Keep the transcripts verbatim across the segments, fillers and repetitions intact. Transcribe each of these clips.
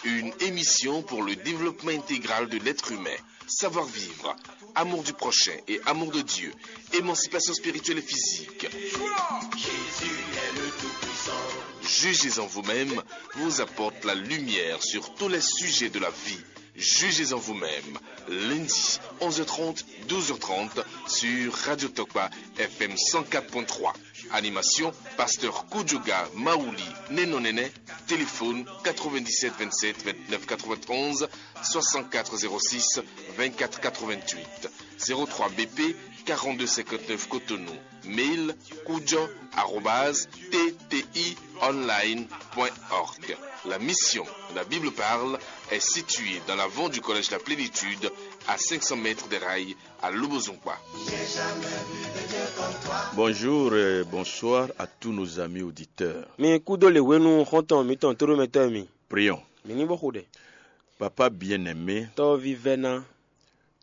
Une émission pour le développement intégral de l'être humain. Savoir-vivre, amour du prochain et amour de Dieu, émancipation spirituelle et physique. Jugez en vous-même vous apporte la lumière sur tous les sujets de la vie. Jugez en vous-même. Lundi, onze heures trente, douze heures trente, sur Radio Tokpa F M cent quatre point trois. Animation, pasteur Kudjoga Maouli Nenonene. Téléphone quatre-vingt-dix-sept vingt-sept vingt-neuf quatre-vingt-onze, soixante-quatre zéro six vingt-quatre quatre-vingt-huit, zéro trois B P quarante-deux cinquante-neuf Cotonou. Mail kudjo arobase T T I online point org. La mission, la Bible parle, est située dans l'avant du collège La Plénitude, à cinq cents mètres des rails, à Lobozonkwa. Bonjour et bonsoir à tous nos amis auditeurs. Mi kúdó lě hwenu xɔ́ntɔn mǐtɔn tóɖómɛtɔ́ mi. Prions. Mǐ ní bó xo ɖɛ. Papa bien-aimé, Tɔ́ vívɛ́ná,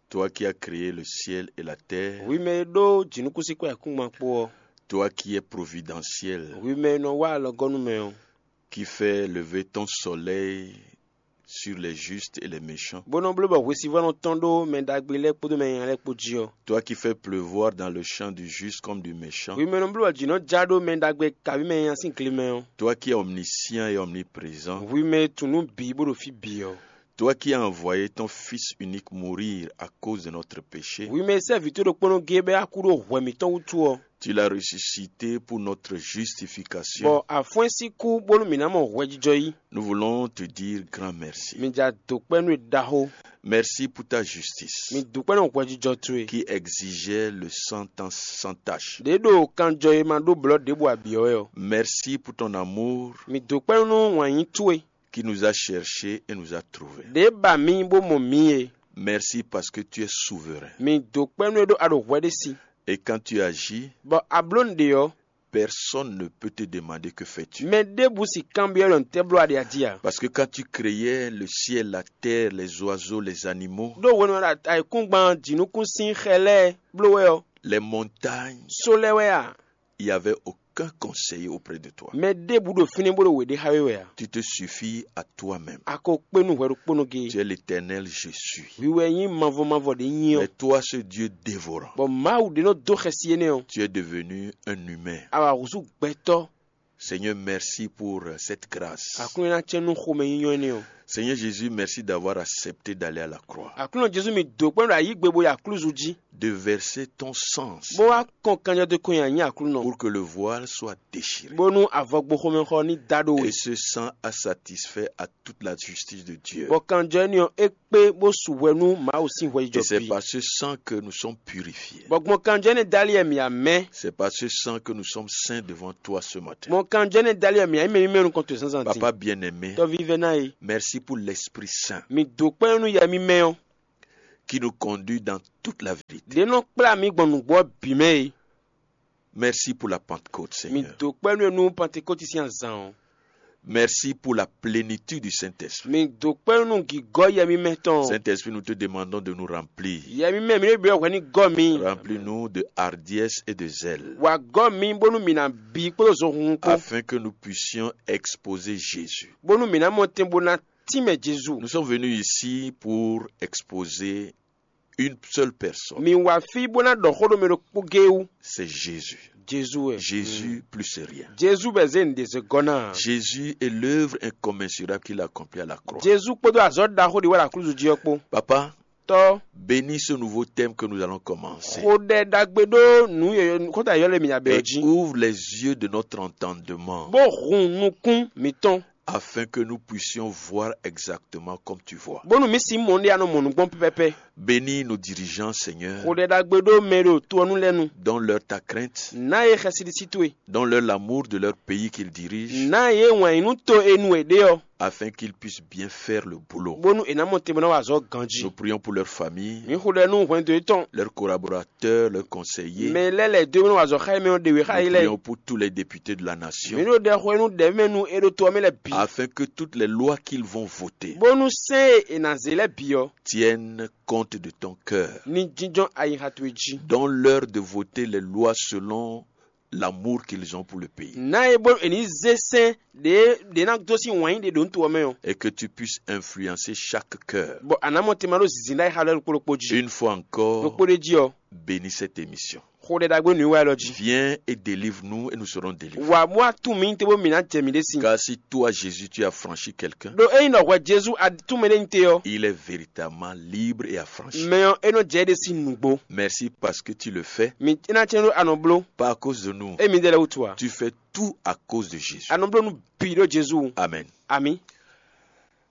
toi qui as créé le ciel et la terre, hwi mɛ e ɖó jǐnukúnsin kpó ayǐkúngban kpó ɔ́, toi qui es providentiel, hwi mɛ e nɔ wá alɔgɔ́ nú mɛ ɔ́, qui fait lever ton soleil sur les justes et les méchants, bó nɔ bló bɔ hwesivɔ́ nɔ tɔ́n ɖó mɛ ɖagbe lɛ́ɛ kpódó mɛ nyanya lɛ́ɛ kpó jí ɔ́, toi qui fais pleuvoir dans le champ du juste comme du méchant, hwi mɛ e nɔ bló bɔ jǐ nɔ ja ɖó mɛ ɖagbe kabí mɛ nyanya sín gle mɛ ɔ́, toi qui es omniscient et omniprésent, hwi mɛ e tunwun nǔ bǐ bó ɖo fí bǐ ɔ́, toi qui as envoyé ton Fils unique mourir à cause de notre péché, hwi mɛ e sɛ́ vǐ towe ɖokpónɔ géé bɔ é wá kú ɖó hwɛ mǐtɔn wútu ɔ́, tu l'as ressuscité pour notre justification, bɔ a fɔ́n ɛ sín kú bónú mǐ ná mɔ hwɛjijɔ yí. Nous voulons te dire grand merci. Mi ja dǒ kpɛ́ nú we ɖaxó. Merci pour ta justice, mi dǒ kpɛ́ nú hwɛjijɔ towe, qui exigeait le sang sans tache, ɖě ɖo kanjɔ e ma ɖó blɔ̌ ɖěbǔ ǎ bǐ ɔ́ wɛ ɔ́. Merci pour ton amour, mi dǒ kpɛ́ nú wǎnyí towe, qui nous a cherchés et nous a trouvés, ɖě ba mì bó mɔ mǐ e. Merci parce que tu es souverain. Mi dǒ kpɛ́ nú e ɖó a ɖo hwɛ ɖé sí. Et quand tu agis, bɔ a bló nǔɖé ɔ́, personne ne peut te demander que fais-tu. Mɛ ɖěbǔ si kanbyɔ́ ɖɔ nǔtɛ́ bló a ɖe a jí ǎ. Parce que quand tu créais le ciel, la terre, les oiseaux, les animaux, ɖó hwenu e ayǐkúngban jǐnukúnsin xɛ lɛ́ɛ bló wɛ ɔ́, les montagnes, só lɛ́ɛ wɛ a? Il y avait aucun conseiller auprès de toi. Mɛ ɖěbǔ ɖo fínɛ́ bó ɖo wě ɖé xá we wɛ a? Tu te suffis à toi-même. A ko kpé nú hwɛ ɖokpónɔ géé. Tu es l'Éternel, je suis. Hwi wɛ nyí mavɔ mavɔ ɖě nyí ɔ́. Mais toi, ce Dieu dévorant, bɔ Mawu ɖě nɔ dó xɛsi énɛ́ ɔ́, tu es devenu un humain. A wǎ húzú gbɛtɔ́. Seigneur, merci pour, euh, cette grâce. Aklúnɔ ná cɛ́n nú xomɛnyínyɔ́ énɛ́ ɔ́. Seigneur Jésus, merci d'avoir accepté d'aller à la croix, Aklúnɔ Jezu, mi dǒ kpɛ́n ɖo ayǐ gbe bo yi aklúzu jí, de verser ton sang, bó wá kɔn kanjɔdókɔn nyi anyí Aklúnɔ, pour que le voile soit déchiré, bónú avɔgboxomɛxɔ ní da ɖó we. Et ce sang a satisfait à toute la justice de Dieu. Bɔ kanjɔ énɛ́ ɔ́, é kpé bó su hwɛ nú Mawu sín hwɛjijɔ. Et c'est bǐ par ce sang que nous sommes purifiés. Bɔ gbɔn kanjɔ énɛ́ dali wɛ mǐ amɛ. C'est par ce sang que nous sommes saints devant toi ce matin. Gbɔn kanjɔ énɛ́ dali wɛ mǐ amɛ mímɛ́ nukɔn towe zǎnzǎn din. Papa bien-aimé, tɔ́ví vɛ́ná e, merci pour l'Esprit Saint, mi dǒ kpɛ́n nú yɛ mímɛ́ ɔ́, qui nous conduit dans toute la vérité. Ɖě nɔ kplá mǐ gbɔn nǔgbó ɔ́ bǐ mɛ e. Merci pour la Pentecôte, mi Seigneur. Dǒ kpɛ́ nú e nú Pantekóti sín azǎn ɔ́. Merci pour la plénitude du Saint-Esprit. Mi dǒ kpɛ́ nú gǐgɔ́ yɛ mímɛ́ tɔn. Saint-Esprit, nous te demandons de nous remplir. Yɛ mímɛ́, mi ɖo byɔ́ hwɛ ní gɔ́ mi. Remplis-nous de hardiesse et de zèle, wǎ gɔ́ mi bónú mǐ ná bí kpódó zohunhun kpó, afin que nous puissions exposer Jésus. Bónú mǐ ná mɔ tɛn bó ná tínmɛ Jezu. Nous sommes venus ici pour exposer une seule personne. Mi wá fí bó ná ɖɔ xó ɖo mɛ ɖokpó géé wú. C'est Jésus. Jezu wɛ. Jésus, plus rien. Jezu bɛ zé nǔɖé zé gɔ́ ná. Jésus est l'œuvre incommensurable qu'il a accomplie à la croix. Jezu kpódó azɔ̌ ɖaxó ɖi wɛ ɖo aklúzu jí ɔ́ kpó. Papa, tɔ́, bénis ce nouveau thème que nous allons commencer. Xo ɖɛ ɖagbe ɖó nǔ yɔyɔ xóta yɔlɛ mi abɛ ɔ́ jí. Et ouvre les yeux de notre entendement, bó hun nukún mǐtɔn, afin que nous puissions voir exactement comme tu vois. Bónú mǐ sin mɔ ɖé anɔ mɔ nǔ gbɔn pɛpɛpɛ. Bénis nos dirigeants, Seigneur. Xo ɖɛ ɖagbe ɖó mɛ e ɖo to ɔ́ nu lɛ́ɛ nu. Donne-leur ta crainte. Ná yě xɛsi ɖisí towe. Donne-leur l'amour de leur pays qu'ils dirigent. Ná yě wǎn yí nú to e nu è ɖe ɔ́, afin qu'ils puissent bien faire le boulot. Bónú è nǎ mɔ te bó ná wa azɔ̌ ganjí. Nous prions pour leur famille, mǐ xo ɖɛ nú hwɛndo yětɔn, leurs collaborateurs, leurs conseillers. Mɛ lɛ́ɛ lɛ̌ dó e bó ná wa azɔ̌ xá yě mɛ ɔ́ ɖe wě xá yě lɛ́ɛ. Nous prions pour tous les députés de la nation, mǐ ɖo ɖɛ xo e nú ɖɛ̌mɛ nú é ɖo to ɔ́ mɛ lɛ́ɛ bǐ, afin que toutes les lois qu'ils vont voter, bónú sɛ́n e è nǎ zé lɛ́ɛ bǐ ɔ́, tiennent compte de ton cœur. Ní jínjɔ́n ayixa towe jí. Donne-leur de voter les lois selon l'amour qu'ils ont pour le pays. Ná e bó è ní zé sɛn ɖě ɖě ná dó sín wǎn yí ɖe ɖo nǔ to ɔ́ mɛ ɔ́. Et que tu puisses influencer chaque cœur. Bɔ a nǎ mɔ tema ɖó zinzin ɖ'ayǐ xa lɛ́ɛ ɖokpó ɖokpó jí. Une fois encore, ɖokpó ɖé jí ɔ́, bénis cette émission. Xo ɖɛ ɖagbe nǔ wa lɔ jí. Viens et délivre-nous et nous serons délivrés. Wǎ bó wá tún mǐ te bó mǐ ná jɛ mǐ ɖé sin. Car si toi, Jésus, tu as franchi quelqu'un, ɖo ényí ɖɔ hwɛ Jezu a tún mɛ ɖé nyi te ɔ́, il est véritablement libre et affranchi. Mɛ ɔ́ é nɔ jɛ é ɖe sín nǔgbó. Merci parce que tu le fais. Mi é ná cɛ́n ɖó a nɔ bló. Pas à cause de nous. Émi ɖe lɛ́ wútu ǎ. Tu fais tout à cause de Jésus. A nɔ bló nú bǐ ɖó Jezu wú. Amen. Ami.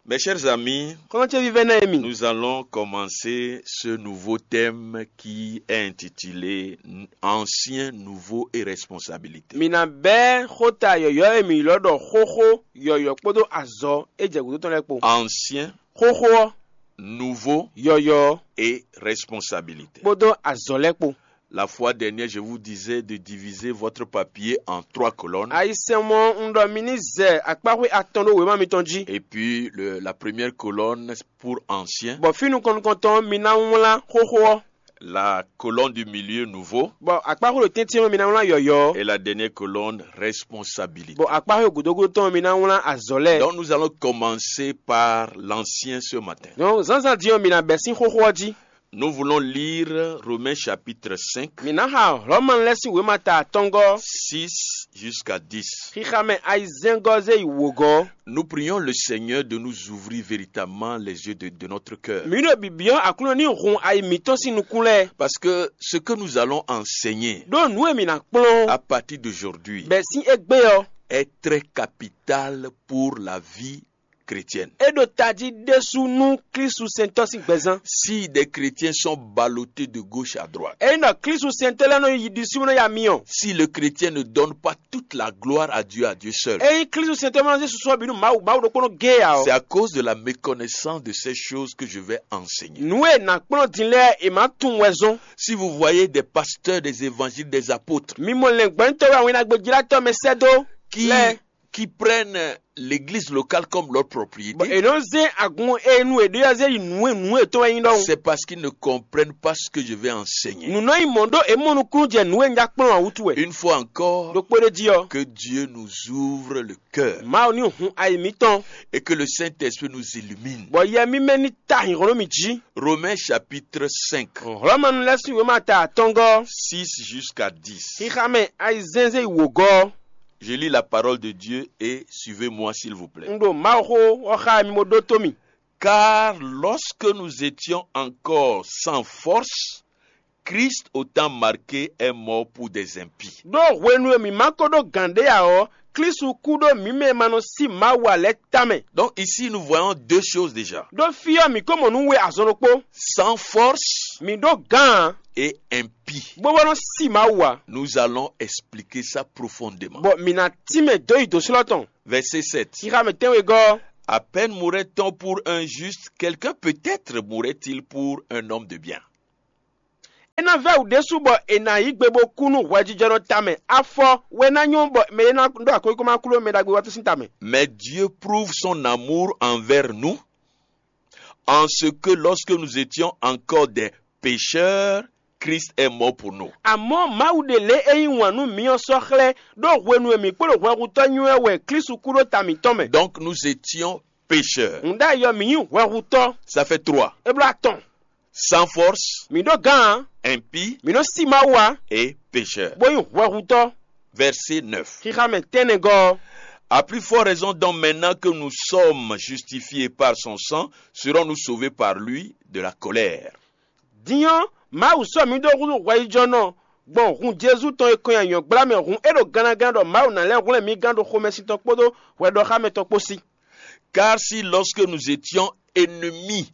Mes chers amis, xɔlɔ́ ce vívɛ́ná e mi. Nous allons commencer ce nouveau thème qui est intitulé Ancien, Nouveau et Responsabilité. Mi ná bɛ́ xóta yɔ̌yɔ́ e mi ylɔ́ ɖɔ xóxó yɔ̌yɔ́ kpódó azɔ̌ e jɛ gǔdo tɔn lɛ́ɛ kpo. Ancien, xóxó ɔ́, nouveau, yɔ̌yɔ́, et responsabilité. Kpódó azɔ̌ lɛ́ɛ kpo. La fois dernière, je vous disais de diviser votre papier en trois colonnes. Ayisɛnmɔ un ɖɔ mi ní zɛ akpáxwé atɔn ɖó wěma mitɔn jí. Et puis, le- la première colonne pour ancien. Bɔ fí nukɔn nukɔntɔn mi ná wlán xóxó ɔ́. La colonne du milieu, nouveau. Bɔ akpáxwé ɖo tɛ́ntin ɔ́ mi ná wlán yɔ̌yɔ́. Et la dernière colonne, responsabilité. Bɔ akpáxwé gǔdógúdó tɔn mi ná wlán azɔ̌ lɛ́ɛ. Donc nous allons commencer par l'ancien ce matin. Donc zǎnzǎn din ɔ́ mi ná bɛ́ sín xóxó ɔ́ jí. Nous voulons lire Romains chapitre cinq, mi ná xa Hlɔ̌manu lɛ́ɛ sín wěma ta atɔngɔ́, six jusqu'à dix. Xixa mɛ ayizɛ́ngɔ́ zé yi wǒgɔ́. Nous prions le Seigneur de nous ouvrir véritablement les yeux de, de notre cœur. Mǐ ɖo bǐbí ɔ́ Aklúnɔ ní hun ayi mǐtɔn sín nukún lɛ́ɛ. Parce que ce que nous allons enseigner, ɖó nǔ e mǐ ná kplɔ́n à partir d'aujourd'hui, bɛ́ sín égbé ɔ́, est très capital pour la vie chrétienne. É ɖo tají ɖésú nú Klísu sɛntɔ́ sín gbɛzán. Si des chrétiens sont ballottés de gauche à droite, Ényí ɖɔ Klísu sɛntɔ́ lɛ́ɛ nɔ yi ɖisí bó nɔ ya myɔ. Si le chrétien ne donne pas toute la gloire à Dieu, à Dieu seul, Ényí Klísu sɛntɔ́ ma nɔ zé susu ɔ́ bǐ nú Mawu, Mawu ɖokpónɔ géé ǎ ɔ́, c'est à cause de la méconnaissance de ces choses que je vais enseigner. Nǔ e nǎ kplɔ́n din lɛ́ɛ è má tunwun wɛ zɔ́n. Si vous voyez des pasteurs, des évangélistes, des apôtres, Mi mɔ lɛ̌ngbɔ́nyitɔ́ wɛ awɛnnagbejlátɔ́ mɛ sɛ́ dó qui, lɛ́ɛ. Qui prennent l'église locale comme leur propriété, Bɔ è nɔ zé agun e nu è ɖe ɔ́ zé yi nǔ e nǔ e tɔn wɛ nyí ɖɔhun. C'est parce qu'ils ne comprennent pas ce que je vais enseigner. Nǔ nɔ nyí mɔ̌ ɖó è mɔ nukúnnú jɛ nǔ e un já kplɔ́n ǎ wútu wɛ. Une fois encore, Ɖokpó ɖé jí ɔ́, que Dieu nous ouvre le cœur Mawu ní hun ayi mǐtɔn, et que le Saint-Esprit nous illumine. Bɔ Yɛ mímɛ́ ní ta hǐnhɔ́n nú mì jí. Romains chapitre cinq, Hlɔ̌manu lɛ́ɛ sín wěma ta atɔngɔ́, six jusqu'à dix. Xixa mɛ ayizɛ́nzɛ́n yi wǒgɔ́. Je lis la parole de Dieu et suivez-moi, s'il vous plaît. Un ɖo Mawu xó ɔ́ xá mi bó ɖótó mì. Car lorsque nous étions encore sans force, Christ, au temps marqué, est mort pour des impies. Ɖó hwenu e mǐ ma ko ɖó gǎn ɖé ǎ ɔ́, Klísu kú ɖó mǐ mɛ e ma nɔ sí Mawu ǎ lɛ́ɛ tamɛ. Donc ici, nous voyons deux choses déjà. Ɖó fí ɔ́, mǐ ko mɔ nǔ we azɔn ɖokpó. Sans force, Mǐ ɖó gǎn ǎ, et impie. Bó bó nɔ sí Mawu ǎ. Nous allons expliquer ça profondément. Bɔ mǐ ná tínmɛ dó yi dǒ slɔ́ tɔn. Verset sept. Xixa mɛ tɛ́nwegɔ́. À peine mourrait-on pour un juste, quelqu'un peut-être mourrait-il pour un homme de bien. É ná vɛ́ wǔ ɖésú bɔ è nǎ yí gbe bó kú nú hwɛjijɔnɔ tamɛ. Afɔ wɛ ná nyɔ́ bɔ mɛ e ná ɖó akwékóma kú ɖó mɛ ɖagbe wá tɔ́n sín tamɛ. Mais Dieu prouve son amour envers nous en ce que lorsque nous étions encore des pécheurs, Christ est mort pour nous. Amɔ̌ Mawu ɖe lě e yí wǎn nú mǐ ɔ́ sɔ́ xlɛ́, ɖó hwenu e mǐ kpo ɖo hwɛhutɔ́ nywɛ́ wɛ Klísu kú ɖó ta mǐtɔn mɛ. Donc nous étions pécheurs. Nǔɖé ayɔ mǐ nyí hwɛhutɔ́. Ça fait trois. É bló atɔn. Sans force, Mǐ ɖó gǎn ǎ. Impie, Mǐ nɔ sí Mawu ǎ, et pécheur. Bó nyí hwɛhutɔ́. Verset neuf. Xixa mɛ tɛ́nnɛgɔ́ ɔ́. À plus forte raison donc, maintenant que nous sommes justifiés par son sang, serons-nous sauvés par lui de la colère. Din ɔ́, Mawu sɔ́ mǐ dó húzú hwɛyíjɔnɔ gbɔn hun Jezu tɔn e kɔn nyi anyɔ̌gbla mɛ hǔn é ɖo gannagán ɖɔ Mawu ná lɛ́ hwlɛ́n mǐ gán ɖo xomɛsin tɔn kpódó hwɛɖɔxámɛ tɔn kpó sí. Car si lorsque nous étions ennemis,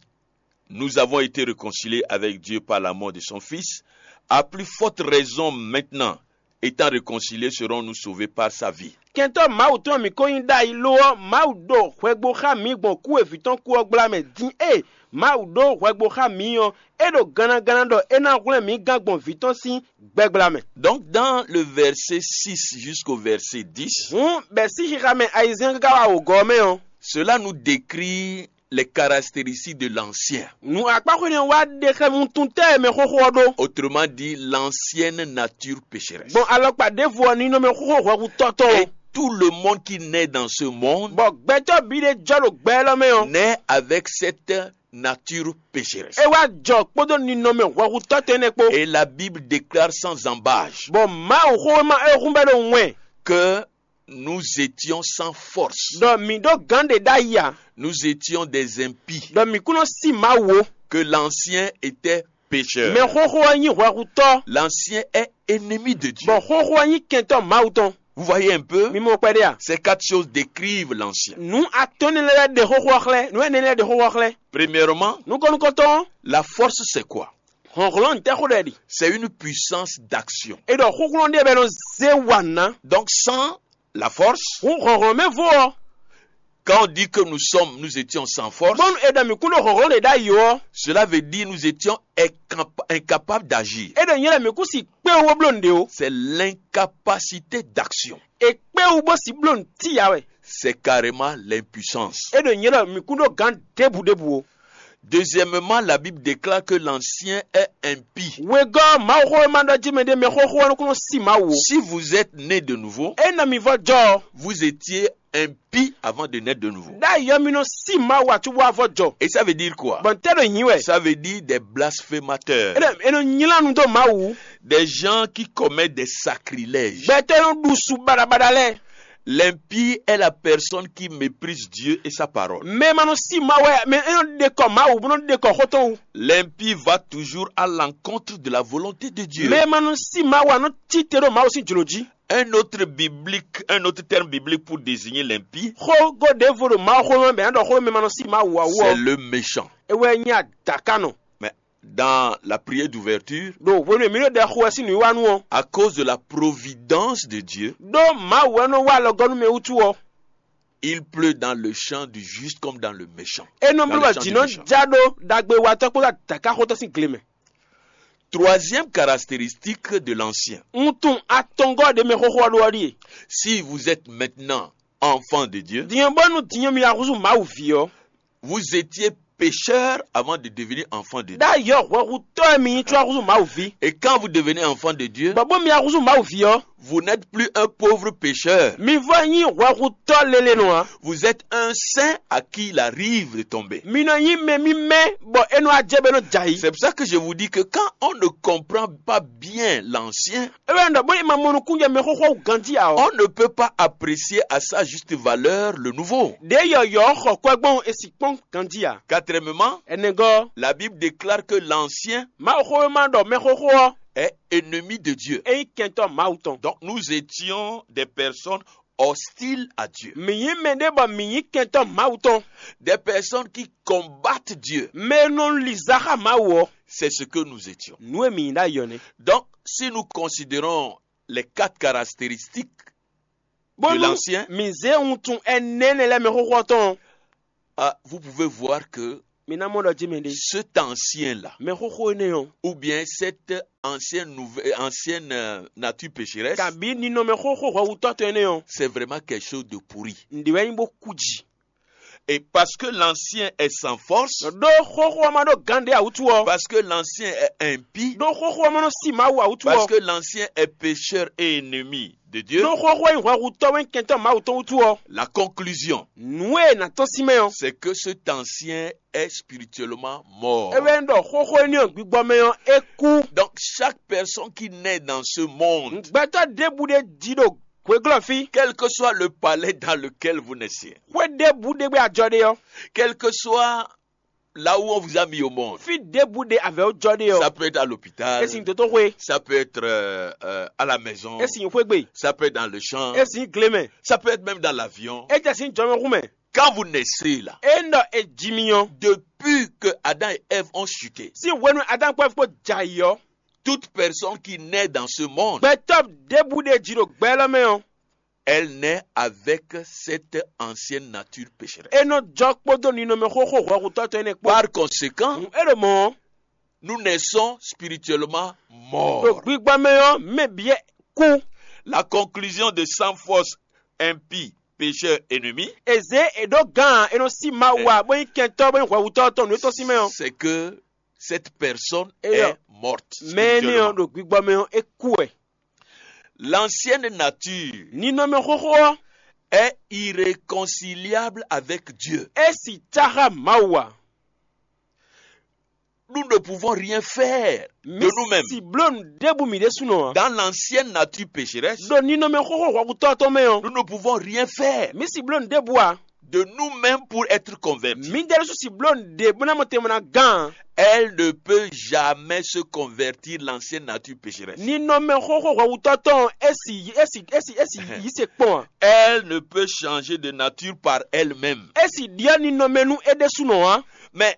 nous avons été réconciliés avec Dieu par la mort de son Fils, à plus forte raison maintenant, étant réconciliés, serons-nous sauvés par sa vie. Kɛntɔ́ Mawu tɔn mǐ ko nyí ɖ'ayǐ lo ɔ́, Mawu ɖo hwɛgbo xá mǐ gbɔn kú e vǐ tɔn kú ɔ́ gbla mɛ. Din e Mawu ɖó hwɛgbo xá mǐ ɔ́, é ɖo gannagánná ɖɔ é ná hwlɛ́n mǐ gán gbɔn vǐ tɔn sín gbɛgbla mɛ. Donc dans le verset six jusqu'au verset dix, Hǔn bɛ̌ sín xixa mɛ ayizɛ́n káká wá wǒgɔ́ ɔ́ mɛ ɔ́, cela nous décrit les caractéristiques de l'ancien. Nu akpáxwé nɛ́ wá ɖe xɛmutun tɛ́ e mɛxóxó ɔ́ ɖó. Autrement dit, l'ancienne nature pécheresse. Gbɔn alɔkpa ɖěvo ɔ́, ninɔmɛ xóxó hwɛhutɔ́ tɔn Et tout le monde qui naît dans ce monde bɔ gbɛtɔ́ bǐ ɖé jɔ ɖo gbɛ élɔ́ mɛ ɔ́, naît avec cette nature pécheresse. é wá jɔ kpódó ninɔmɛ hwɛhutɔ́ tɔn énɛ́ kpó. Et la Bible déclare sans ambages Bɔ Mawu xówéma e hún bɛ́ ɖo wɛn que nous étions sans force. Ɖɔ mǐ ɖó gǎn ɖě ɖ'ayǐ ǎ. Nous étions des impies. Ɖɔ mǐ kún nɔ sí Mawu ó. Que l'ancien était pécheur. Mɛ xóxó ɔ́ nyí hwɛhutɔ́. L'ancien est ennemi de Dieu. Bɔ xóxó ɔ́ nyí kɛntɔ́ Mawu tɔn. Vous voyez un peu? Mi mɔ kpɛɖé a? Ces quatre choses décrivent l'ancien. Nu atɔ́ énɛ́ lɛ́ɛ ɖe xóxó ɔ́ xlɛ́. Nu énɛ́ lɛ́ɛ ɖe xóxó ɔ́ xlɛ́. Premièrement, Nukɔn nukɔntɔn, la force, c'est quoi? hlɔ̌nhlɔ́n tɛ́ xó ɖɛ ɖi. C'est une puissance d'action. É ɖɔ xúxlɔ́n ɖé bɛ́ nɔ zé wa ná. Donc, sans la force, Hǔn hlɔ̌nhlɔ́n mɛ vo ɔ́, quand on dit que nous sommes, nous étions sans force, bónú è ɖɔ mǐ kún ɖo hlɔ̌nhlɔ́n ɖě ɖ'ayǐ ó ɔ́, cela veut dire nous étions incapa- incapables d'agir. É ɖɔ nyɛ lɛ́ɛ mǐ kún si kpé wó bló nǔɖé ó. C'est l'incapacité d'action. È kpé wú bó si bló nǔ tíya wɛ. C'est carrément l'impuissance. É ɖɔ nyɛ lɛ́ɛ mǐ kún ɖó gǎn ɖěbǔ ɖěbǔ ó. Deuxièmement, la Bible déclare que l'ancien est impie. Wegɔ́ Mawuxówéma ɖɔ jí mɛ ɖé mɛ xóxó ɔ́ nɔ kún nɔ sí Mawu ó. Si vous êtes né de nouveau, É nɔ mi vɔ jɔ ɔ́, vous étiez impie avant de naître de nouveau. Ɖ'ayǐ ɔ́ mi nɔ sí Mawu ǎ cóbó wá vɔ jɔ. Et ça veut dire quoi? Bɔn tɛ́ ɖo nyǐ wɛ. Ça veut dire des blasphémateurs, É nɔ é nɔ nylá nu dó Mawu. Des gens qui commettent des sacrilèges. Gbɛtɔ́ e nɔ ɖu su baɖabaɖa lɛ́ɛ. L'impie est la personne qui méprise Dieu et sa parole. Mɛ e ma nɔ sí Mawu wɛ, mɛ e nɔ ɖe kɔ Mawu bó nɔ ɖe kɔ xó tɔn wú. L'impie va toujours à l'encontre de la volonté de Dieu. Mɛ e ma nɔ sí Mawu ǎ nɔ cí te ɖo Mawu sín jlǒ jí. Un autre biblique, un autre terme biblique pour désigner l'impie, Xógó ɖěvo ɖo Mawu xó mɛ bɛ ná ɖɔ xó mɛ ma nɔ sí Mawu ǎ wú c'est ɔ́, le méchant. é wɛ nyí adǎkanɔ. Mais dans la prière d'ouverture, Ɖo hwenu e mǐ ɖo ɖɛ xo wɛ sín nǔwiwa nu ɔ́, à cause de la providence de Dieu, ɖó Mawu wɛ nɔ wá alɔgɔ́ nú mɛ wútu ɔ́, il pleut dans le champ du juste comme dans le méchant. é nɔ Dans bló le bɔ champ jǐ du nɔ méchant. já ɖó ɖagbewatɔ́ kpódó adǎkaxótɔ́ sín gle mɛ. Troisième caractéristique de l'ancien. Wuntun atɔngɔ́ ɖé mɛ xóxó ɔ́ ɖó ɔ́ ɖíe. Si vous êtes maintenant enfant de Dieu, Dinyɔ́n bónú dinyɔ́n mi wá húzú Mawu ví ɔ́, vous étiez pécheur avant de devenir enfant de Dieu. Ɖ'ayǐ ɔ́ hwɛhutɔ́ e mi nyí có wá húzú Mawu ví. Et quand vous devenez enfant de Dieu, Bɔ bónú mi wá húzú Mawu ví ɔ́, vous n'êtes plus un pauvre pécheur. Mi vɔ nyí hwɛhutɔ́ lélenu ǎ. Vous êtes un saint à qui il arrive de tomber. Mi nɔ nyí mɛ mímɛ́ bɔ é nɔ ajɛ bɔ é nɔ jɛ ayǐ. C'est pour ça que je vous dis que quand on ne comprend pas bien l'ancien, É wɛ ɖɔ bónú è ma mɔ nukúnjɛ mɛ xóxó wú ganjí ǎ ɔ́, on ne peut pas apprécier à sa juste valeur le nouveau. Ɖě yɔ̌yɔ́ xɔ kwɛ gbɔn è sì kpɔ́n ganjí ǎ. Quatrièmement, Ɛnɛgɔ́, la Bible déclare que l'ancien Mawu xówéma ɖɔ mɛ xóxó ɔ́, est ennemi de Dieu. É nyí kɛntɔ́ Mawu tɔn. Donc nous étions des personnes hostiles à Dieu. Mǐ nyí mɛ ɖé bɔ mǐ nyí kɛntɔ́ Mawu tɔn. Des personnes qui combattent Dieu. Mɛ e nɔ li zǎ xá Mawu ɔ́, C'est ce que nous étions. Nǔ e mǐ nyí ɖ'ayǐ ɔ́ nɛ́. Donc si nous considérons les quatre caractéristiques de Bónú l'ancien, mǐ zé wuntun ɛnɛ énɛ́ lɛ́ɛ mɛ xóxó ɔ́ tɔn ɔ́, ah, vous pouvez voir que mi ná mɔ ɖɔ jí mɛ ɖé. Cet ancien-là, Mɛ xóxó énɛ́ ɔ́, ou bien cette ancienne, nouvelle, ancienne euh, nature pécheresse, kabǐ ninɔmɛ xóxó hwɛhutɔ́ tɔn énɛ́ ɔ́, c'est vraiment quelque chose de pourri. Nǔɖé wɛ nyí bó kú jǐ. Et parce que l'ancien est sans force, Ɖó xóxó ɔ́ ma ɖó gǎn ɖé ǎ wútu ɔ́, parce que l'ancien est impie, ɖó xóxó ɔ́ ma nɔ sí Mawu ǎ wútu parce ɔ́, que l'ancien est pécheur et ennemi de Dieu, ɖó xóxó ɔ́ nyí hwɛhutɔ́ wɛ nyí kɛntɔ́ Mawu tɔn wútu ɔ́, la conclusion, nǔ e è nǎ tɔ́n sín mɛ ɔ́, c'est que cet ancien est spirituellement mort. é wɛ nyí ɖɔ xóxó énɛ́ ɔ́ gbigbɔ mɛ ɔ́ é kú. Donc chaque personne qui naît dans ce monde, Gbɛtɔ́ ɖěbǔ ɖé jí ɖo hweglɔ́ fí, quel que soit le palais dans lequel vous naissez, xwé ɖěbǔ ɖé gbé ajɔ ɖe ɔ́, quel que soit là où on vous a mis au monde, fí ɖěbǔ ɖé avɛ̌ wó jɔ ɖe ɔ́, ça peut être à l'hôpital, é sin dótóxwé, ça peut être euh, euh, à la maison, é sin xwégbe, ça peut être dans le champ, é sin glémɛ, ça peut être même dans l'avion. é jɛ sin jɔmɛxú mɛ. Quand vous naissez là, É ɖɔ è ji mi ɔ́, depuis que Adam et Ève ont chuté, sín hwenu Adánkpɔ́vú kpó jɛ ayǐ ɔ́, toute personne qui naît dans ce monde, gbɛtɔ́ ɖěbǔ ɖé jí ɖo gbɛ élɔ́ mɛ ɔ́, elle naît avec cette ancienne nature pécheresse. é nɔ jɔ kpódó ninɔmɛ xóxó hwɛhutɔ́ tɔn énɛ́ kpó. Par conséquent, É ɖo mɔ̌ ɔ́, nous naissons spirituellement ɖo morts. Gbigbɔ mɛ ɔ́, mɛ bǐ kú. La conclusion de sans force, impie, pécheur ennemi, è zě è ɖǒ gǎn e nɔ sí Mawu ǎ, bó nyí kɛntɔ́, bó nyí hwɛhutɔ́ tɔn nǔ e tɔ́n sín mɛ ɔ́. C'est que cette personne Eyɔ. Est morte mɛ énɛ́ ɔ́ spirituellement. Ɖo gbigbɔ mɛ ɔ́, é kú wɛ. L'ancienne nature Ninɔmɛ xóxó ɔ́, Est irréconciliable avec Dieu. É si tá xá Mawu ǎ. Nous ne pouvons rien faire de nous-mêmes. Mǐ si bló nǔ ɖěbǔ mǐ ɖésúnɔ ǎ. Dans l'ancienne nature pécheresse, Ɖo ninɔmɛ xóxó hwɛhutɔ́ tɔn mɛ ɔ́, nous ne pouvons rien faire mǐ si bló nǔ ɖěbǔ ǎ. De nous-mêmes pour être convertis. Mǐdɛɛ ɖésú si bló nǔɖé bó ná mɔ tɛnmɛ ná gán. Elle ne peut jamais se convertir, l'ancienne nature pécheresse. Ninɔmɛ xóxó hwɛhutɔ́ tɔn é si é si é si é si yí se kpɔn ǎ. Elle ne peut changer de nature par elle-même. É si ɖyɔ́ ninɔmɛ nú é ɖésúnɔ ǎ. Mais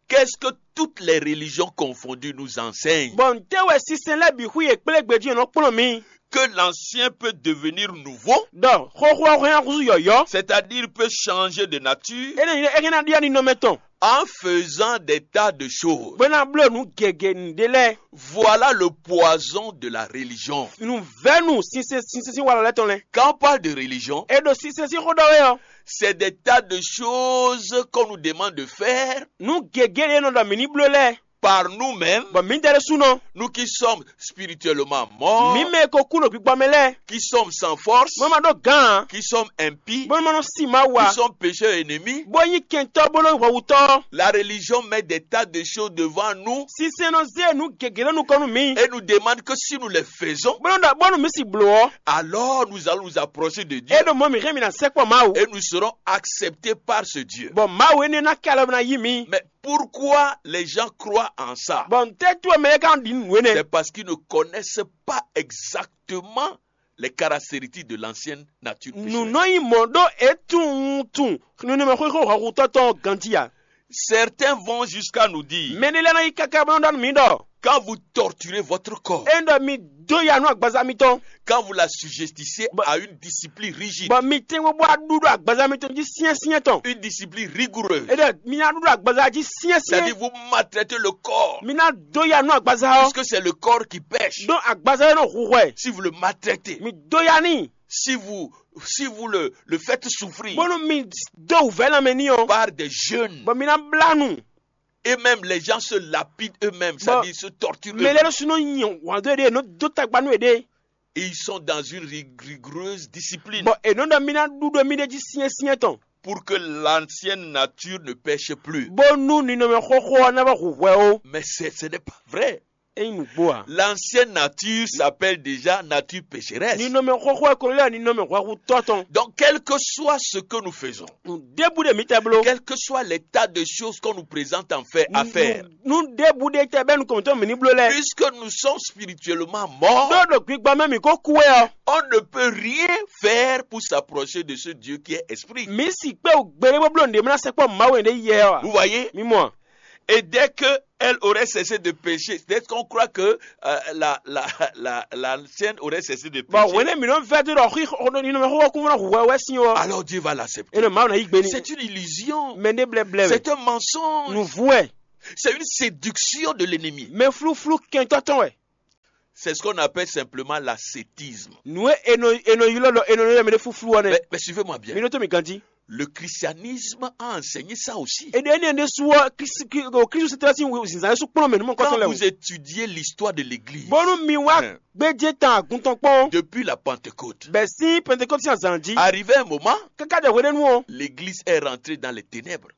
qu'est-ce que toutes les religions confondues nous enseignent? Bɔ ntɛ́ wɛ sinsɛn lɛ́ɛ bǐ xwí e kplé gbejí e nɔ kplɔ́n mi? Que l'ancien peut devenir nouveau. Ɖɔ xóxó ɔ́ hɛn húzú yɔ̌yɔ́. C'est-à-dire peut changer de nature. Énɛ́ é hɛn ná ɖyɔ́ ninɔmɛ tɔn. En faisant des tas de choses. Bó ná bló nǔ gěgé nǔɖé lɛ́ɛ. Voilà le poison de la religion. Nǔvɛ́nu sinsɛn sinsɛn sín walɔ lɛ́ɛ tɔn lɛ́ɛ. Quand on parle de religion, É ɖo sinsɛn sín xó ɖɔ wɛ ɔ́. C'est des tas de choses qu'on nous demande de faire Nǔ gěgé ɖé nɔ ɖɔ mǐ ní bló lɛ́ɛ. Par nous-mêmes, Bɔ mǐdɛɛ ɖésúnɔ. Nous qui sommes spirituellement morts, Mǐ mɛ e ko kú ɖo gbígbɔ mɛ lɛ́ɛ. Qui sommes sans force, Mɔ́ ma ɖó gǎn ǎ. Qui sommes impies, Bó ma nɔ sí Mawu ǎ. Qui sommes pécheurs ennemis. Bó nyí kɛntɔ́ bó nɔ nyí hwɛhutɔ́. La religion met des tas de choses devant nous. Sinsɛn nɔ zé nǔ gěgé ɖó nukɔn nú mǐ. Et nous demande que si nous les faisons, Bó nɔ ɖɔ bónú mǐ si blǒ ɔ́. Alors nous allons nous approcher de Dieu. É ɖo mɔ̌ mǐ hɛn mǐ ná sɛkpɔ́ Mawu. Et nous serons acceptés par ce Dieu. Bɔ Mawu énɛ́ ná kɛ alɔ ná yí mǐ. Mais pourquoi les gens croient en ça? Bɔ ntɛ́ tú wɛ mɛ lɛ́ɛ ka ɖi nǔ énɛ́? C'est parce qu'ils ne connaissent pas exactement les caractéristiques de l'ancienne nature pécheresse. Nǔ nɔ nyí mɔ̌ ɖó é tunwun tunwun nunúmɛ xwíxó hɔhutɔ́ tɔn ganjí ǎ. Certains vont jusqu'à nous dire, Mɛ ɖé lɛ́ɛ nɔ yi káká bó nɔ́ ɖɔ nú mǐ ɖɔ, Quand vous torturez votre corps, é ɖɔ mi dó ya nú agbaza mitɔn, quand vous la sujettissez à une discipline rigide, bɔ mi tɛ́ngbɔ́n bó wá ɖu ɖo agbaza mitɔn jí syɛ́nsyɛ́n tɔn. Une discipline rigoureuse. É ɖɔ mi ná ɖu ɖo agbaza jí syɛ́nsyɛ́n. C'est-à-dire vous maltraitez le corps. Mi ná dó ya nú agbaza ɔ́. Puisque c'est le corps qui pêche. Ɖó agbaza ɔ́ nɔ hu hwɛ. Si vous le maltraitez, Mi dó ya n'i. Si vous, si vous le, le faites souffrir, Bónú mi dó wǔvɛ́ lanmɛ n'i ɔ́, Par des jeûnes, Bɔ mi ná blá nu. Et même les gens se lapident eux-mêmes, c'est-à-dire se torturent eux-mêmes. Mɛ lɛ́ɛ ɖésú nɔ nyi wǎn dó éɖée, nɔ dó tagba nú éɖée. Ils sont dans une rig- rigoureuse discipline. Bɔ è nɔ ɖɔ mì ná ɖu ɖo mì ɖe jí syɛ́nsyɛ́n tɔn. Pour que l'ancienne nature ne pêche plus. Bónú ninɔmɛ xóxó ɔ́ ná vɔ hu hwɛ ó. Mais c'est- ce n'est pas vrai. É nyí nǔgbó ǎ. L'ancienne nature s'appelle déjà nature pécheresse. Ninɔmɛ xóxó ɔ́ ko lɛ́ ninɔmɛ hwɛhutɔ́ tɔn. Donc, quel que soit ce que nous faisons, Nǔ ɖěbǔ ɖe mǐ tɛ bló. Quel que soit l'état de choses qu'on nous présente en fait à faire, Nǔ ɖěbǔ ɖe tɛ bɛ́ nukɔn mǐtɔn mǐ ní bló lɛ́ɛ. Puisque nous sommes spirituellement morts, Ɖó ɖo gbigba mɛ mǐ ko kú wɛ ɔ́, On ne peut rien faire pour s'approcher de ce Dieu qui est esprit. Mǐ si kpé wú gbeɖé bó bló nǔɖé mɛ ná sɛkpɔ́ Mawu e ɖě yɛ ɔ́ ǎ. Vous voyez? Mi mɔ a? Et dès que elle aurait cessé de pécher, dès qu'on croit que euh, la, la, la, l'ancienne aurait cessé de Bɔ pécher, hwenɛ́ mǐ nɔ vɛ́ dó ɖɔ xí xɔ- ninɔmɛ xóxó kún ná hu hwɛ wɛ sín ɔ́. Alors Dieu va l'accepter. Énɛ́ Mawu ná yí gbe n'i. C'est une illusion. Mɛ ɖé blɛblɛ wɛ. C'est un mensonge. Nǔvú wɛ. C'est une séduction de l'ennemi. Mɛ flúflú kɛntɔ́ tɔn wɛ. C'est ce qu'on appelle simplement l'ascétisme. Nǔ e è nɔ è nɔ ylɔ́ ɖɔ è nɔ ylɔ́ mɛ ɖé flúflú ɔ́ nɛ́. Mais, mais suivez-moi bien. Mi ɖótó mi ganjí. Le christianisme a enseigné ça aussi. Èdè énɛ́ ɖésú ɔ́ Kristu Kristu sɛ́tɛ́ sín zinzan ɖésú kplɔ́n mɛ nú mɔ Quand kɔ́tɔn lɛ́ɛ o. Vous étudiez l'histoire de l'Église, Bónú mi wá Hein. Gbéjé tán àgùntàn kpɔ́n. Depuis la Pentecôte, Bɛ̀sín Pentecôte sín azǎn jí. Arrivé un moment, Káká ɖe hweɖénu ɔ́. L'Église est rentrée dans les ténèbres.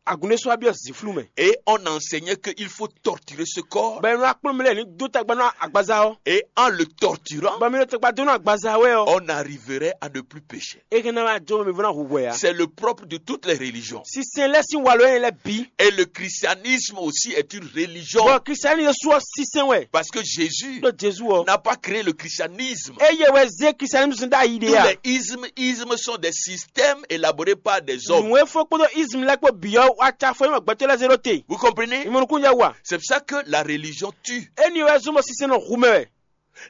Agun ɖé sɔ́ wá byɔ́ zǐnflú mɛ. Et on enseignait qu'il faut torturer ce corps. Bɔ è nɔ akplɔ́n mɛ lɛ́ɛ ní dó tagba nú agbaza ɔ́. Et en le torturant, Bɔ mi ɖo tagba dó nú agbaza wɛ ɔ́. On arriverait à ne plus pécher. É hɛn ná wá jó mɛ mi vɔ́ ná hu hwɛ ǎ. C'est le propre de toutes les religions. Sinsɛn lɛ́ɛ sín walɔ énɛ́ lɛ́ɛ bǐ. Et le christianisme aussi est une religion. Bɔ kristiani ɖésú ɔ́ sinsɛn wɛ. Parce que Jésus Ɖó Jezu ɔ́. N'a pas créé le christianisme. Eye wɛ zé kristianisme ɖ'ayǐ ɖe Tous a. Les ismes, ismes sont des systèmes élaborés par des hommes. Nǔ e fó kpódó isme lɛ́ɛ kpó bǐ ɔ́ wá cá fó nyí gbɛtɔ́ lɛ́ɛ zé ɖó te. Vous comprenez? Ìmọ̀ nukún jɛ wa. C'est pour ça que la religion tue. Éni wɛ zɔ́n bɔ sinsɛn nɔ hu mɛ wɛ.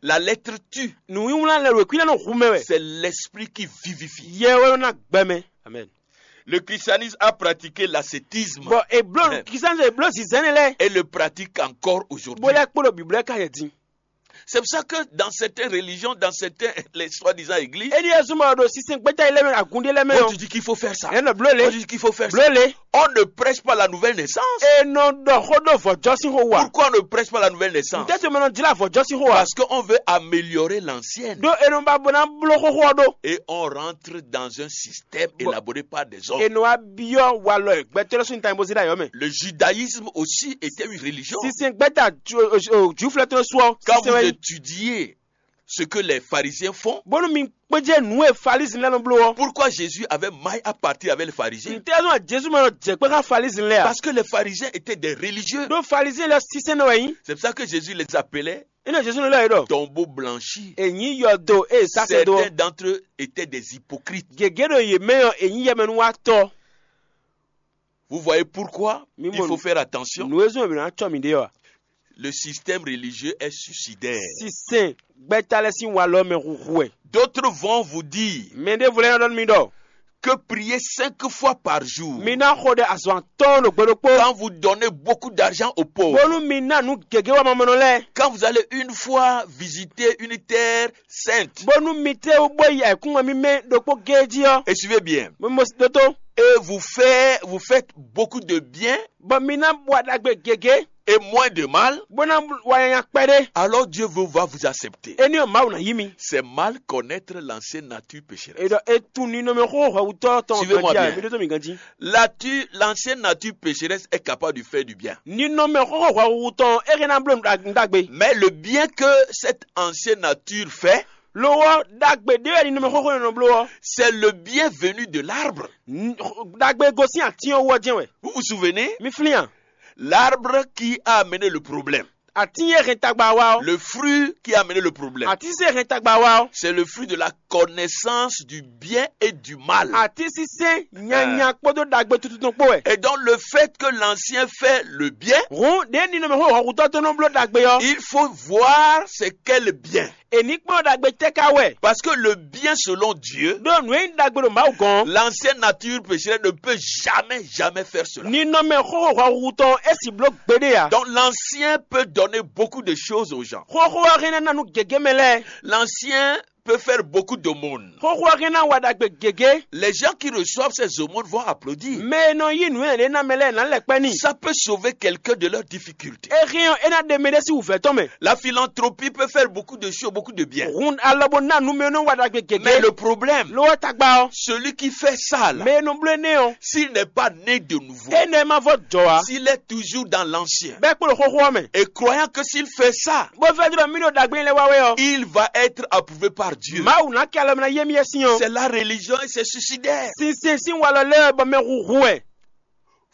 La lettre tue. Nǔwíwlán lɛ wěkwín lɛ́ɛ nɔ hu mɛ wɛ. C'est l'esprit qui vivifie. Yɛ wɛ nɔ ná gbɛ mɛ. Amen. Le christianisme a pratiqué l'ascétisme. Bɔ èbló Amen. Kristianisme èbló zizɛn ne lɛ. Et le pratique encore aujourd'hui. Bó lɛ kpó ɖo bìblɛ ka yɛ din. C'est pour ça que dans certaines religions, dans certaines, les soi-disant églises, Éni e zɔ́n ma ɖo sinsɛn gbɛ́ta yi lɛ́ɛ mɛ, agun ɖé lɛ́ɛ mɛ on ɔ́, te dit qu'il faut faire ça. Ɛ nɔ bló On lé. Te dit qu'il faut faire ça. Bló lé. On ne prêche pas la nouvelle naissance. E nɔ ɖɔ xó ɖó vɔ̌jɔ́ sín xó wa. Pourquoi on ne prêche pas la nouvelle naissance? Ntɛ́ to mɛ nɔ jlá vɔ̌jɔ́ sín xó wa? Parce qu'on veut améliorer l'ancienne. Ɖó e nɔ ba bó ná bló xóxó ɔ́ ɖó. Et on rentre dans un système élaboré par des hommes. E nɔ wá byɔ́ walɔ e gbɛtɔ́ lɛ́ɛ sín tannyibózí ɖ'ayɔ́ mɛ. Le judaïsme aussi était une religion. Sinsɛn gbɛ́ta Jwifulɛ tɔn sú ɔ́. Quand vous étudiez ce que les pharisiens font, Bónú mi kpéjɛ nǔ e Falisin lɛ́ɛ nɔ bló ɔ́. Pourquoi Jésus avait maille à partir avec les pharisiens? Ntɛ́ zɔn Jezu mɛ nɔ jɛ kpé xá Falisin lɛ́ɛ a? Parce que les pharisiens étaient des religieux. Ɖó Falisin lɛ́ɛ sinsɛn nɔ wɛ nyí. C'est pour ça que Jésus les appelait Énɛ́ Jezu nɔ lɛ́ yě ɖɔ. Tombeaux blanchis. È nyǐ yɔdo ée sásɛ dó. Certains d'entre eux étaient des hypocrites. Gěgé ɖo yě mɛ ɔ́, è nyǐ yɛmɛnúwatɔ́. Vous voyez pourquoi il faut faire attention? Nǔ e zɔ́n è nǎ cɔ mǐɖée ɔ́. Le système religieux est suicidaire. Sinsɛn gbɛ́ta lɛ́ɛ sín walɔ mɛ huhu wɛ. D'autres vont vous dire Mɛ ɖěvo lɛ́ɛ nɔ ɖɔ nú mi ɖɔ. Que prier cinq fois par jour. Mi ná xo ɖe azɔn atɔ́ɔ́n ɖo gbe ɖokpó. Quand vous donnez beaucoup d'argent aux pauvres. Bónú mi ná nǔ gěgé wá mamɔnɔ lɛ́ɛ. Quand vous allez une fois visiter une terre sainte. Bónú mi tlé bó yi ayǐkúngban mímɛ́ ɖokpó géé jí ɔ́. Et suivez bien. Mo mo ɖótó. Et vous faites, vous faites beaucoup de bien. Bɔ mi ná wa ɖagbe gěgé. Et moins de mal. Bó ná wa nyanya kpɛɖé. Alors Dieu vous, va vous accepter. Éní ɔ́ Mawu ná yí mi. C'est mal connaître l'ancienne nature pécheresse. E ɖɔ e tunwun ninɔmɛ xóxó hwɛhutɔ́ tɔn. Suivez-moi bien. Mi ɖótó mi ganjí. La tu-, l'ancienne nature pécheresse est capable de faire du bien. Ninɔmɛ xóxó hwɛhutɔ́ tɔn é hɛn ná bló nǔ ɖagbe. Mais le bien que cette ancienne nature fait, Lo ɔ́, ɖagbe ɖé wɛ ninɔmɛ xóxó nɔ bló ɔ́. C'est le bien venu de l'arbre. Ɖagbe e gosín atín ɔ́ wú ɔ́ jɛ́n wɛ. Vous vous souvenez? Mi flín a? L'arbre qui a amené le problème. Atín e hɛn tagba wá ɔ́. Le fruit qui a amené le problème. Atínsínsɛ́n e hɛn tagba wá ɔ́. C'est le fruit de la connaissance du bien et du mal. Atínsínsɛ́n nyanya kpódó ɖagbe tuntun tɔn kpó wɛ. Et donc le fait que l'ancien fait le bien, Hǔn ɖěe ninɔmɛ xó hɔnkutɔ́ tɔn nɔ bló ɖagbe ɔ́. Il faut voir c'est quel bien. È ní kplɔ́n ɖagbe tɛ́ ka wɛ. Parce que le bien selon Dieu, Ɖó nǔ e nyí ɖagbe ɖo Mawu gɔ́n. L'ancienne nature pécheresse ne peut jamais, jamais faire cela. Ninɔmɛ xóxó hwɛhuhu tɔn é sì bló gbeɖé ǎ. Donc l'ancien peut donner beaucoup de choses aux gens. Xóxó ɔ́ hɛn ná ná nú gěgé mɛ lɛ́ɛ. L'ancien peut faire beaucoup d'aumônes. Xóxó ɔ́ hɛn ná wa ɖagbe gěgé. Les gens qui reçoivent ces aumônes vont applaudir. Mɛ e nɔ yí nǔ nyanya ɖé ná mɛ lɛ́ɛ ná lɛ́ kpɛ́ n'i. Ça peut sauver quelqu'un de leurs difficultés. É hɛn ɔ́, é ná ɖe mɛ ɖé sín wǔvɛ́ tɔn mɛ. La philanthropie peut faire beaucoup de choses, beaucoup de bien. Hun alɔ bó ná nǔ mɛ e nɔ wa ɖagbe gěgé. Mais le problème, Lo ɔ́ tagba ɔ́, celui qui fait ça là, Mɛ e nɔ bló énɛ́ ɔ́, S'il n'est pas né de nouveau, Énɛ́ ma vɔ jɔ ǎ. S'il est toujours dans l'ancien, Bɛ́ kpo ɖo xóxó ɔ́ mɛ. Et croyant que s'il fait ça, Bó fɛ́ ɖɔ mí ɖo ɖagbe lɛ́ɛ wa wɛ ɔ́, Il va être approuvé par Dieu. Mawu ná kɛ alɔ mɛ ná yé mì yɛ sín ɔ́. C'est la religion et c'est suicidaire. Sinsɛn sín walɔ lɛ́ɛ bɔ mɛ hu hu wɛ.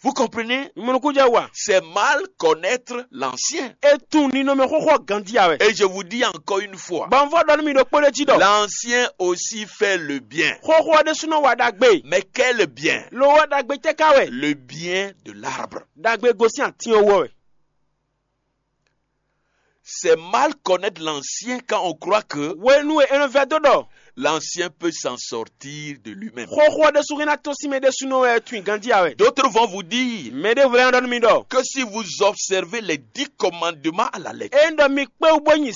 Vous comprenez? Mɔnukúnjɛ wa. C'est mal connaître l'ancien. E tunwun ninɔmɛ xóxó ganjí a wɛ. Et je vous dis encore une fois, Bɔ un vɔ ɖɔ nú mi ɖokpó ɖé jí ɖɔ. L'ancien aussi fait le bien. Xóxó ɔ́ ɖésúnɔ wa ɖagbe. Mais quel bien? Lo ɔ́ ɖagbe tɛ́ ka wɛ. Le bien de l'arbre. Ɖagbe gosín atín ɔ́ wú ɔ́ wɛ. C'est mal connaître l'ancien quand on croit que Hwenu e è nɔ vɛdó ɖɔ. L'ancien peut s'en sortir de lui-même. Xóxó ɔ́ ɖésú hɛn ná tɔ́n sín mɛ ɖésúnɔ wɛ tunwun ganjí a wɛ. D'autres vont vous dire Mɛ ɖěvo lɛ́ɛ nɔ ɖɔ nú mi ɖɔ. Que si vous observez les dix commandements à la lettre, Ényí ɖɔ mi kpé wú bó nyi